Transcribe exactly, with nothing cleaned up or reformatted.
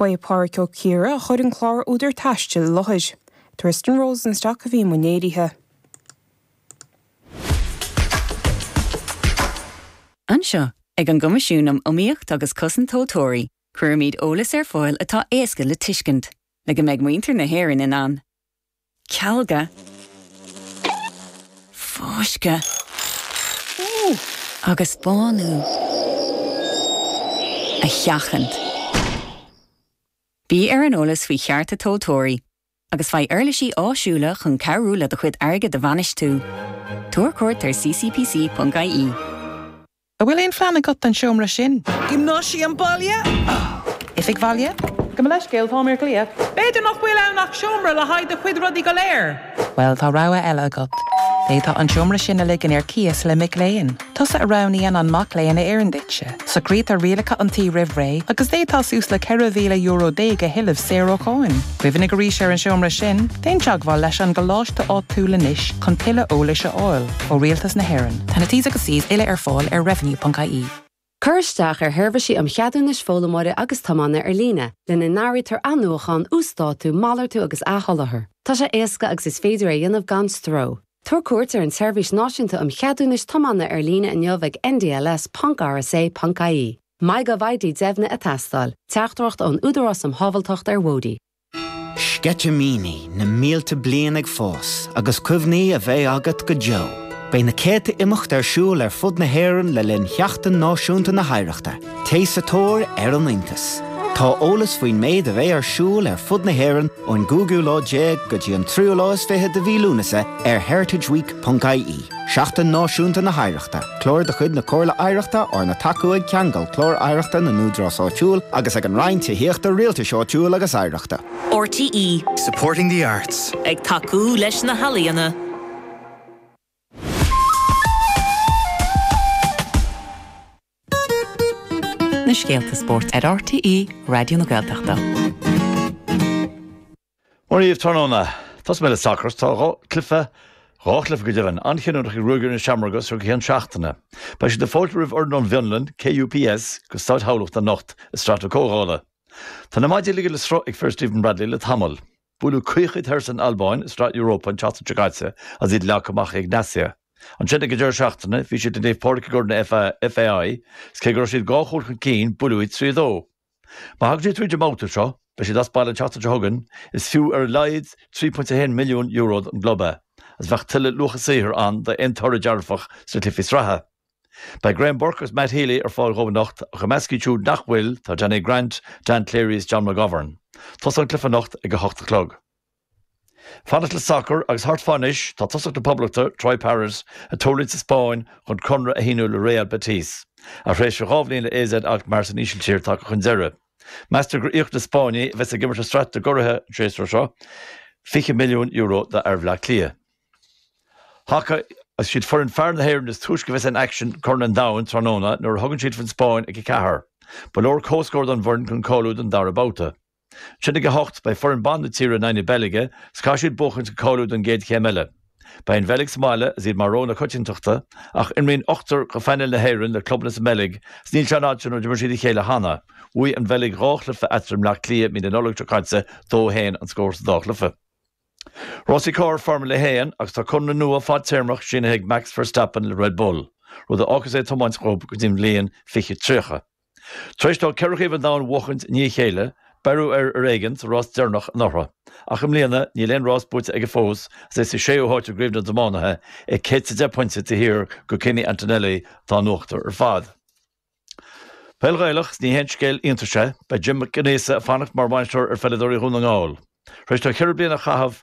Ba é Pádraig Ó Ciardha a chuir an clár Údar Taistil i láthair. Tristan Rosenstock a bhí i mbun léirithe. Anseo, ag an gCoimisiún um Iomaíocht agus Cosaint Tomhaltóirí, cuirimid eolas ar fáil atá éasca le tuiscint, le go mbeidh muintir na hÉireann in ann cealga, fáisceadh agus bánú a sheachaint. Bí ar an eolas faoi chearta tomhaltóirí, agus faigh uirlisí áisiúla chun cabhrú le do chuid airgid a bhainistiú. Tabhair cuairt ar ccpc.ie. An bhfuil aon phlean agat don seomra sin? Giomnáisiam baile? Oifig bhaile? Gabh mo leithscéal táim ar glaoch. B'fhéidir nach bhfuil ann ach seomra le haghaidh do chuid rudaí go léir. Well tá rogha eile agat. D'fhéadfá an seomra sin a ligean ar cíos le mic léinn. Tusa a roghnaíonn an mac léinn a oireann duitse. Socraítear rialacha an tí roimh ré agus d'fhéadfá suas le ceithre mhíle euro déag a thuilleamh saor ó cháin. Cuimhnigh arís ar an seomra sin, déan teagmháil leis an gcoláiste áitiúil anois chun tuilleadh eolais a fháil ó Rialtas na hÉireann. Tá na T's agus C's uile ar fáil ar revenue.ie. Cuir isteach ar sheirbhísí um cheadúnais foghlaimeora agus tiomána ar líne, lena n-áirítear athnuachan, uasdátú, malartú agus athsholáthar. Tá sé éasca agus is féidir é a dhéanamh gan stró. Tabhair cuairt ar an tSeirbhís Náisiúnta um Cheadúnais Tiomána ar líne inniu ag ndls.rsa.ie. MyGovID deimhnithe ag teastáil, teachtaireacht ón Údarás um Shábháilteacht ar Bhóithre. Sceitimíní na mílte bliain ag fás agus cuimhní a bheidh agat go deo. Beidh na céadta imeacht ar siúl ar fud na hÉireann le linn Sheachtain Náisiúnta na hOidhreachta, Téigh sa tóir ar an iontas. Tá eolas faoin méid a bheidh ar siúl ar fud na hÉireann ón gcúigiú lá déag go dtí an tríú lá is fiche de mhí Lúnasa ar heritageweek.ie. Seachtain Náisiúnta na hOidhreachta, clár de chuid na Comhairle Oidhreachta arna tacú ag Ceangal Clár Oidhreachta na nÚdarás Áitiúil agus ag an Roinn Tithíochta Rialtais Áitiúil agus Oidhreachta. RTÉ Supporting the arts. Ag tacú leis na healaíona. Na scéalta spóirt ar RTÉ Raidió na Gaeltachta. Mora dhaoibh tráthnóna. Tosóidh mé le sacar tá dhá chluiche dhá chluiche go deimhin an-chinniúnach ag Ruagairí na Seamróige go ceann seachtaine. Beidh siad ag fáiltiú roimh fhoireann ón bhFionlainn, KUPS, go Staid Thamhlachta anocht i Sraith na Comhdhála. Tá na maidí ligthe le sruth ag fir Stephen Bradley le tamall. Buaileadh caoch iad thoir san Albáin i Sraith Europa an tseachtain seo caite agus iad leagtha amach ag Egnazia. Ansin ag an deireadh seachtaine bhí siad i Naomh Pádraig i gCorn FAI is cé go raibh siad dhá chúl chun cinn buaileadh iad trí a dó. Má thagann siad tríd an mbabhta seo, beidh siad as baile an tseachtain seo chugainn, is fiú ar a laghad trí pointe a haon milliún euro don gclub é, agus bheadh tuilleadh luacha saothair ann d'aon toradh dearfach sna cluichí sraithe. Beidh Graham Burke agus Matt Healy ar fáil dhóibh anocht ach i measc iad siúd nach bhfuil tá Danny Grant, Dan Cleary is John McGovern. Tosóidh an cluiche anocht ag a hocht a chlog. Fanacht le sacar agus thart fá anois tá tosach na Poblachta, Troy Parrott, ag tuirlingt sa Spáinn chun conradh a shíniú le Real Betis. A thréimhse dhá bhliain le AZ Alkmaar san Ísiltír tagtha chun deireadh. Meastar gur íoc na Spáinnigh a bheas ag imirt i Sraith na gCuradh an séasúr seo fiche milliún euro d'fhear Bhaile Átha Cliath. Haca is iad foireann fear na hÉireann is túisce a bheas in aicsean i gCorn an Domhain tráthnóna nuair a thugann siad faoin Spáinn ag a ceathair. Ba leor comhscór don bhfoireann chun cáiliú don dara babhta. Ansin ag a hocht beidh foireann ban na tíre in aghaidh na Beilge is caithfidh siad buachaint chun cáiliú don gcéad chéim eile. Beidh an Bheilg sa mbaile is iad mar rogha na coitiantachta ach imríonn ochtar de phainéal na hÉireann le clubanna sa mBeilg is níl sé an fhad sin ó d'imir siad a chéile cheana. Bhuaigh an Bheilg dhá chluiche eatarthu i mBleá Cliath mí na Nollag seo caite, dó a haon an scór sa dá chluiche. Rásaí carr Formula a haon agus tá conradh nua fadtéarmach sínithe ag Max Verstappen le Red Bull, rud a fhágfas é ag tiomáint dhóibh go dtí an bhliain fiche tríocha. Tar éis dó ceithre chraobh an domhain a bhuachaint i ndiaidh a chéile, beireadh air ar éigean sa rás deireanach anuraidh. Ach i mbliana, níl aon rás buaite aige fós agus é sa séú háit i gcraobh na dtiománaithe, é céad is a deich pointe taobh thiar de Kimi Antonelli atá in uachtar ar fad. Peil Ghaelach, is ní haon scéal iontais é, beidh Jim Mac Aonghusa ag fanacht mar bhainisteoir ar pheileadóirí Dhún na nGall. Tar éis dó ceithre bliana a chaitheamh